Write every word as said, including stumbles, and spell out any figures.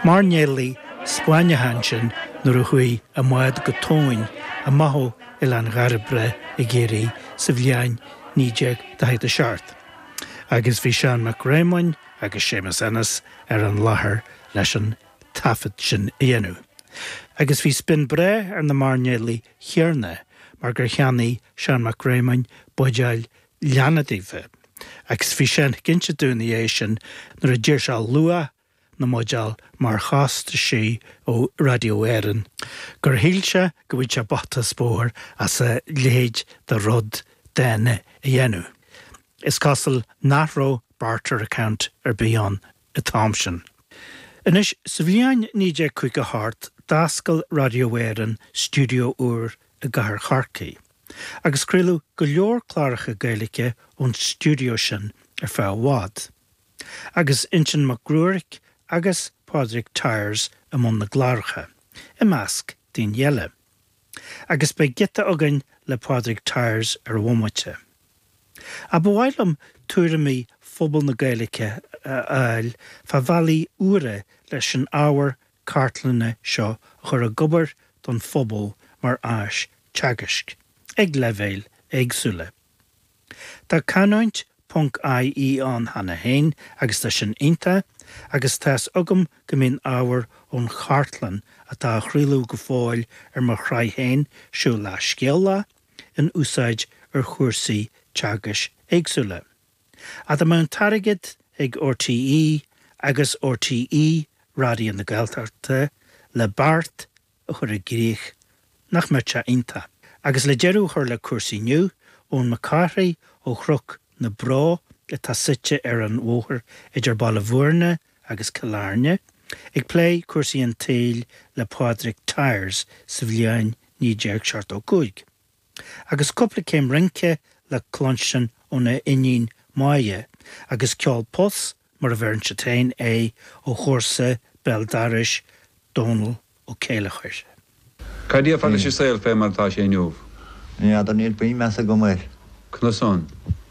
Mairnéalaigh Spáinneacha ansin nuair a chuaigh a mbád go tóin amach ó Oileán Dhairbre i gCiarraí sa bhliain naoi déag daichead a seacht. Agus bhí Seán Mac Réamoinn agus Séamus Ennis ar an láthair leis an taifead sin a dhéanamh. Agus bhí spin breá ar na mairnéalaigh chéanna mar gur cheannaigh Seán Mac Réamoinn buidéal leanna daofa. Agus bhí sé cinnte dúinn é sin nuair a d'iarr sé luach na mbuidéal mar chostaisí ó Radio Éireann, gur shíl sé go bhfuil sé bocht as bóthar as a leithéid de rud dána a dhéanamh. Is cosúil nach raibh barter account ar bith ann an t-am sin. Anois sa bhliain naoi déag caoga a hocht d'oscail Radio Éireann stiúideo úr i gcathair Chorcaí, agus craoladh go leor cláracha Gaeilge ón stiúideo sin ar feadh i bhfad. Agus Uinseann Mac Ruairc agus Pádraig Tyers i mbun na gcláracha, i measc daoine eile. Agus beidh giota againn le Pádraig Tyers ar bhomaite. Ach ba mhaith liom tuairimí phobal na Gaeilge a fháil fá bhealaí úra leis an ábhar cartlainne seo a chur ag obair don phobal mar áis teagaisc, ag leibhéil éagsúla. Tá canúint ponc IE ann cheana féin agus tá sin iontach agus tá's agam go mbíonn ábhar ón chartlann atá á chraoladh go fóill ar mo shraith féin Siúil Lá Scéal Lá in úsáid ar chúrsaí teagaisc éagsúla. Ach dá mbeadh an t-airgead ag RTÉ agus RTÉ Raidió na Gaeltachta le beart a chur i gcrích nach mbeadh sé iontach. Agus le deireadh a chur le cúrsaí inniu Eoin Mac Cárthaigh ó Chnoc na Bró atá suite ar an bhóthar idir Baile Bhúirne agus Cill Airne, ag plé cúrsaí an tsaoil le Pádraig Tyers sa bhliain naoi déag seachtó cúig. Agus cúpla céim rince le cluinstin óna iníon Máire, agus ceol pus mar a bheireann siad féin é ó chomharsa béal dorais Dónal Ó Céilleachair. Cad a déarfá leis an saol fé mar atá sé inniu? N'fheadar níl puinn meas agam air. Conas san.